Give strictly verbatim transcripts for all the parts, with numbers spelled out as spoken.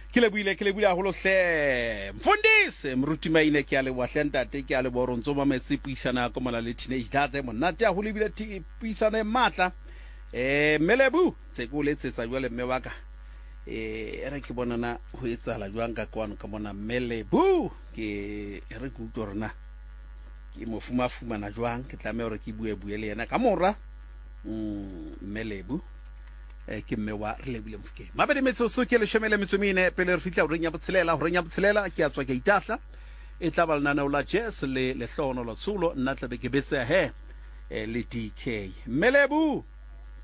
Ke lebohile, ke lebohile haholo hle. Mfundisi Moruti Maine, ke a leboha hle ntate, ke a leboha hore o ntso mametse puisano ya komana le teenage date monate haholo ebile thi- puisano e matla. Eh mme Lebu, tse ke o letsetsa jwale mme wa ka. Eh e re ke bona na ho etsahala jwang ka kwano ka mona mme Lebu, ke e re ke utlwe hore na ke mo fumafumana jwang, ke tlameha hore ke bue bue le yena ka mora mm, mme Lebu. Eh, ke mme wa re lebile Mofokeng. Mabedi metsotso ke leshome le metso mene pele re fihla horeng ya botshelela. Horeng ya botshelela ke a tswa ke a itahla, e tla ba lenaneo la jazz le lehlohonolo tsholo, nna tlabe ke betseha he eh, le D K. Mme Lebu,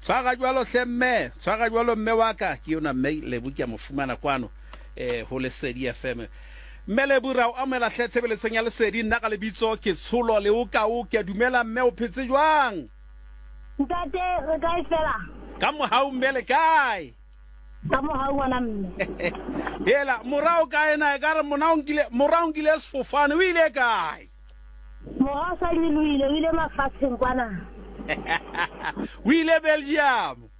tshwara jwalo hle mme, tshwara jwalo mme wa ka. Ke yona mme Lebu, ke a mo fumana kwano eh, ho Lesedi F M. Mme Lebu, ra o amohela hle tshebeletsong ya Lesedi. Nna ka lebitso ke Tsholo Leokao, ke a dumela mme, o phetse jwang? Ntate, re kae fela? Ka mohau mme, le kae? Ka mohau ngwana mme. Hela, mora o kae na? Ekare mona o nkile, mora o nkile sefofane, o ile kae? Mora o sa nyolohile, o ile mafatsheng kwana. O ile Belgium.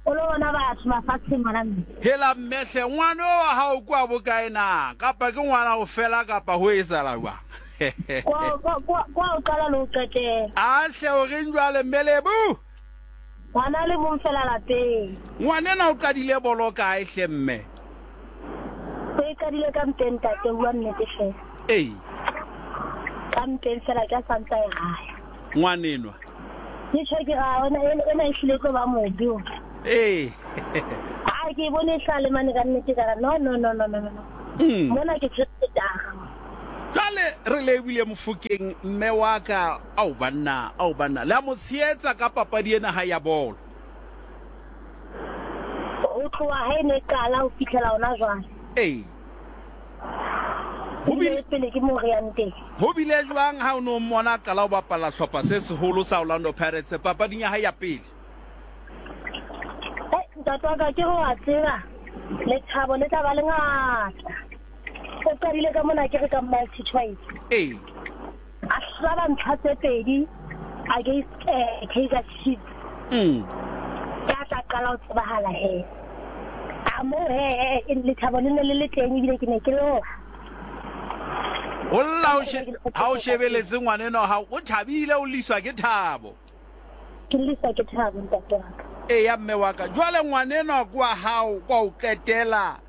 O lo bona batho mafatsheng ngwana mme. Hela mme hle, ngwana o wa hao kwa bokae na? Kapa ke ngwana o fela kapa ho etsahala jwang? Kwa, kwa, kwa, kwa o qala le ho qetela. A hle o reng jwale mme Lebu? Ngwana le mong fela lapeng. Ngwanena o qadile bolo kae hle mme? O e qadile ka mpeng ntate, bua nnete fela. Ee. Ka mpeng fela ke a santsa e raya. Ngwanenwa. Ke tjho ke ra ona ena e hlile tlo ba mobe o. Ee. A ke bone e hlale mane ka nnete ka ra no no no no no no. Mm. Mona ke tshwere tara. Jwale re lebile Mofokeng mme wa ka, ao banna, ao banna, le a mo tshehetsa ka papadi ena ha ya bolo. Ho tloha ha e ne qala ho fihlela hona jwale. Ee. Ho bile pele ke mo re yang teng. Ho bile jwang ha o no mmona a qala ho bapala hlopha se seholo sa Orlando Pirates papading ya hae ya pele? Eh, ntate wa ka ke re wa tseba lethabo le tla ba lengata. O qadile ka mona ke re ka multi choice. Ee. A hlaba ntlha tse pedi against eh, Kaizer Chiefs. Mm. Ka tla qala ho tsebahala he. A mo he he lethabo le ne le le teng ebile ke ne ke lla. O lla o she, ha o shebeletse ngwaneno ha o thabile, o liswa ke thabo. Ke liswa ke thabo ntate wa ka. Ee ya mme wa ka. Jwale ngwaneno kwa hao kwa o qetela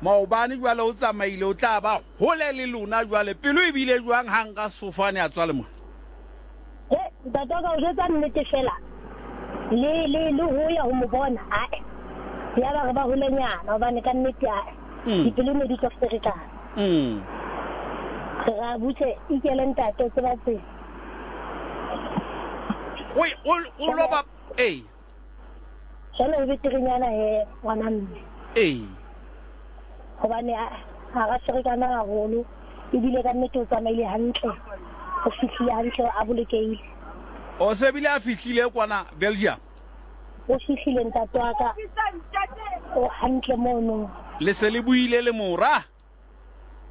maobane jwale o tsamaile, o tla ba hole le lona jwale. Pelo e bile jwang ha nka sefofane a tswa le mona? Eh, ntate wa ka o jwetsa nnete fela. Le le le ho ya ho mo bona, ae. Ya ba re ba holenyana hobane ka nnete ae. Mm. Dipelo ne di tlo ferekana. Mm. Re ra butse ikele ntate o tseba tsela. O o o lo ba ee. Jwale o beterenyana he ngwana mme. Ee. Hobane a ha ra ferekana haholo ebile ka nnete o tsamaile hantle. O fihlile hantle a bolokehile. O se bile a fihlile kwana Belgium. O fihlile ntate wa ka. O hantle mono. Le se le buile le mora?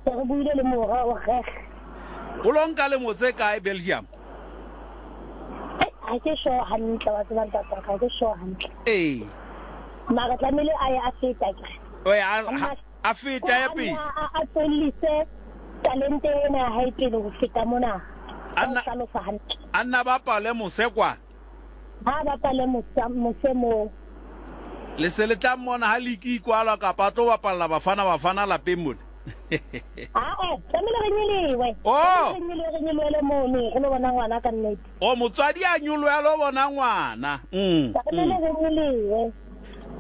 Se re buile le mora o reg. O lo nka lemo tse kae Belgium? Eh, ha ke sure hantle wa tseba ntate wa ka, ha ke sure hantle. Ee. Mara tlamehile a ye a feta ke. O ya a, a feta ya pele. A, a tswellise talente ena ya hae pele ho feta mona. A nna Ka ho hlalosa hantle. A nna bapale mose kwa. Ha bapale mose, mose moo. Le se le tla mmona ha league e kwalwa kapa a tlo bapalla Bafana Bafana lapeng mona. Ah, eh, tlamehile re nyolohe. Oh. Tlamehile re nyolohe, re nyolohele mono, re lo bona ngwana ka nnete. Oh, motswadi a nyolohe a lo bona ngwana. Mm, Tlamehile mm. re nyolohe.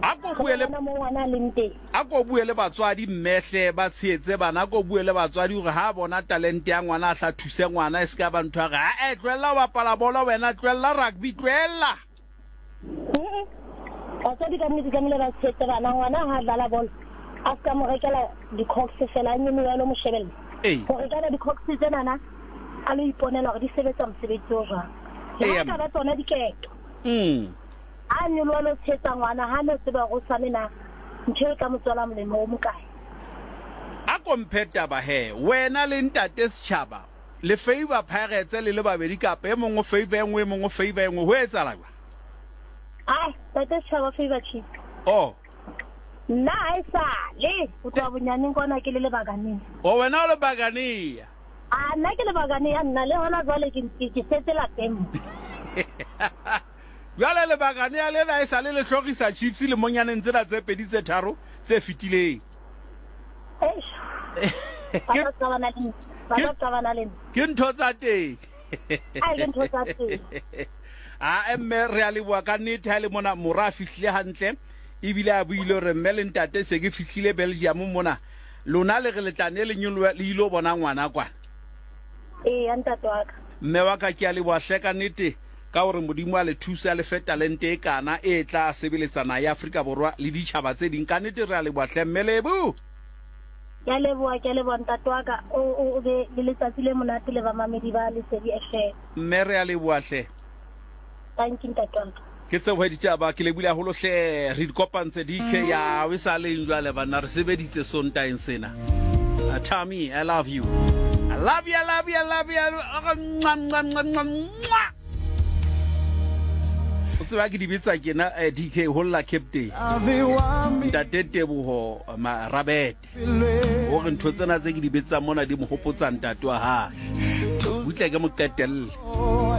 A ko bue le Re bona mo ngwana a leng teng. A ko bue le batswadi mmehle ba tshehetse bana, a ko bue le batswadi hore ha bona talente ya ngwana a hla thuse ngwana, e se ka ba ntho ya re, ha eh, tlohella ho bapala bolo wena, tlohella rugby, tlohella. Mm-mm. Batswadi ka nnete tlamehile ba tshehetse bana, ngwana ha dlala bolo a se ka mo rekela di-cox fela, a nyolohe a lo mo shebella. Ee. Hore kana di-cox tsenana a lo iponela hore di sebetsa mosebetsi o jwang. Le Ee, ha ka ba tsona diketo. Mm. A nyoloha lo tshehetsa ngwana, ha no tseba hore o sane na ntho e ka mo tswela molemo o mokae. A ko mphe taba he, wena le ntate setjhaba le favor Pirates le le babedi kapa e mong o favor e nngwe, e mong o favor e nngwe, ho etsahala jwang? Ai, ntate setjhaba favor Chiefs. Oh. Nna ha e sale ho tloha bonyaneng kwana ke le lebakaneng. O wena o lebakanea? A nna ke lebakanea, nna le hona jwale ke ke setse lapeng. Jwale lebakanea lena e sale le hlorisa Chiefs le monyaneng tsena tse pedi tse tharo tse fetileng. Ke ke ntho tsa teng. A ke ntho tsa teng. A mme re a leboha ka nnete ha le mona mora a fihlile hantle ebile a buile hore mme le ntate se ke fihlile Belgium mona. Lona le re le tla ne le nyoloha le ilo bona ngwana kwana. Ee, ntate wa ka. Mme wa ka ke a leboha hle ka nnete ka hore Modimo a le thusa le fe talente e kana e tla sebeletsana ya Afrika Borwa le ditjhaba tse ding. Ka nnete re a leboha hle mme Lebo. Ke a leboha, ke a leboha ntate wa ka. O o be le letsatsi le monate le bamamedi ba Lesedi F M. Mme re a leboha hle. Thank you ntate wa ka. Ke tsebo ditaba ke lebile haholo hle re di kopantse D K ya we sa leng jwale bana re sebeditse Sontaeng sena. Tommy, I love you. I love you, I love you, I love you. O tseba ke di bitsa ke na D K holla captain. Ntate Teboho Marabete. Hore ntho tsena tse ke di bitsa mona di mo hopotsa ntate wa hae. Butle ke mo qetelle.